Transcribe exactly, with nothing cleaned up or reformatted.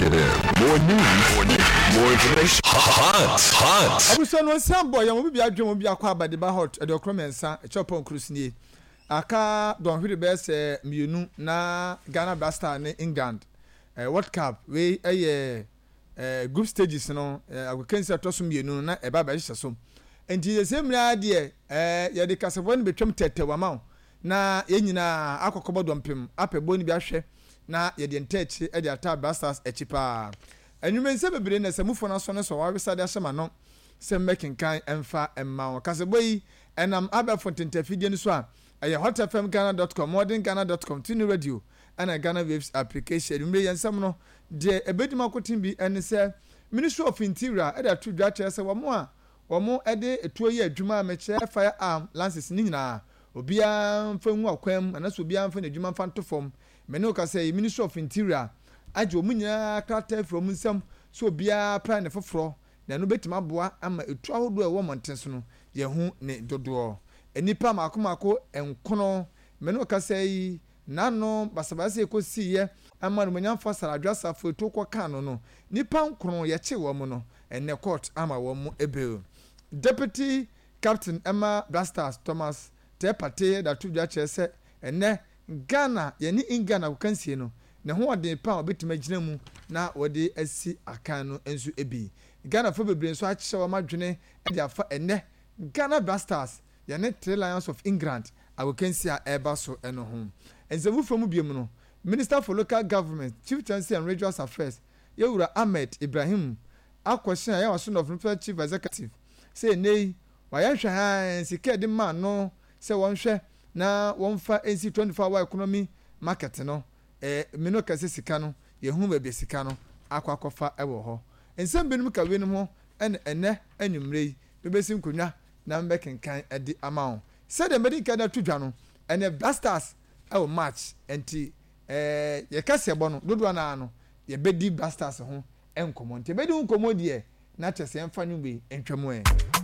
Lock it in. More news, more news, more information. Hot, hot. Abusua no nsa bɔ yɛn, obi bi adwene mu bi akɔ abadeba hot ɛde ɔkorɔ mmiɛnsa ɛkyɛ ɔpɔn kuro nie. Aka dɔnhwere bɛyɛ sɛ mmienu na Ghana Black Star ne England eh, World Cup wei ɛyɛ eh, group stages no, eh, agokansi ɛtɔ so mmienu no na ɛba bɛhyehyɛ so. Nti yɛsɛ mmerɛ deɛ eh, yɛde kasafoɔ no bɛtwam tɛtɛw ama wo na yɛn nyinaa akɔkɔbɔ dɔmpem apɛ bɔ no bi ahwɛ na yɛde nta akyi de ata Black Stars akyi paa. Anwummerɛ bebree na sɛ mufoɔ no asɔ no so wɔawesa de ahyɛ ma no sɛ mmɛkenkan ɛmfa mma wo. Kasabɔ yi ɛnam abɛɛfo ntentafidie no so a ɛyɛ hot F M Ghana dot com, modern Ghana dot com, tuni radio ɛna Ghana Waves application. Anwummerɛ yɛn nsɛm no deɛ ɛbɛdi mu akoten bi ɛne sɛ Ministry of Interior ɛde ato dwa kyerɛ sɛ wɔn a wɔn ɛde etuo yɛ adwuma a mekyerɛ firearm license ne nyinaa, obiara mfa ngu akwan mu anaasɛ obiara mfa n'adwuma mfa nto fam. Mene wo kasa yi, Ministry of Interior agye wɔn nyinaa krataa firi wɔn nsam sɛ obiara pra ne foforɔ, na ɛno bɛtumi aboa ama etu ahodoɔ a ɛwɔ mmɔnten so no yɛho ne dodoɔ. Nnipa mako mako nkono, mene wo kasa yi, n'ano basabasa ekosiiɛ ama nomonyamfo Saradwa Safo etu kɔ kan no no nipa nkron yɛkye wɔn no, ɛnɛ court ama wɔn bail. Deputy captain ɛma Black Stars, Thomas Tepate, da to dwa kyerɛ sɛ ɛnɛ Ghana yɛne England agokansie no ne ho ɔden pa a wɔbɛtumi agyina mu na wɔde asi akan no nso bi. Ghanafoɔ bebree nso akyerɛ wɔn adwene de afa ɛnɛ Ghana Black Stars yɛne Three Lions of England agokansie a ɛreba so no ho. Nsɛm foforɔ mu biom no, Minister for Local Government, Chieftaincy and Regional Affairs, yɛwura Ahmed Ibrahim, akɔhyɛn a yɛwɔ so no chief executive sɛ ɛnɛ yi wayɛ nhwɛ sika de maa no sɛ wɔnhwɛ na wɔmfa nsi twenty-four hour economy market no. ɛɛ menu kɛse sika no yɛhu baabi sika no akɔ akɔfa ɛwɔ hɔ. Nsɛm binom ka weinom ho ɛna ɛnɛ anwummerɛ yi bɛbɛsi nkonnwa na mbɛkenkan ɛde ama wo. Sɛdeɛ mbɛdi nkan de ato dwa no, ɛnɛ Black Stars ɛwɔ match, nti ɛɛ yɛka sɛ bɔ no dodoɔ naa no yɛbɛdi Black Stars ho nkɔmɔ, nti yɛbɛdi ho nkɔmɔ deɛ na kyerɛ sɛ yɛmfa nwummerɛ ntwam ɛ.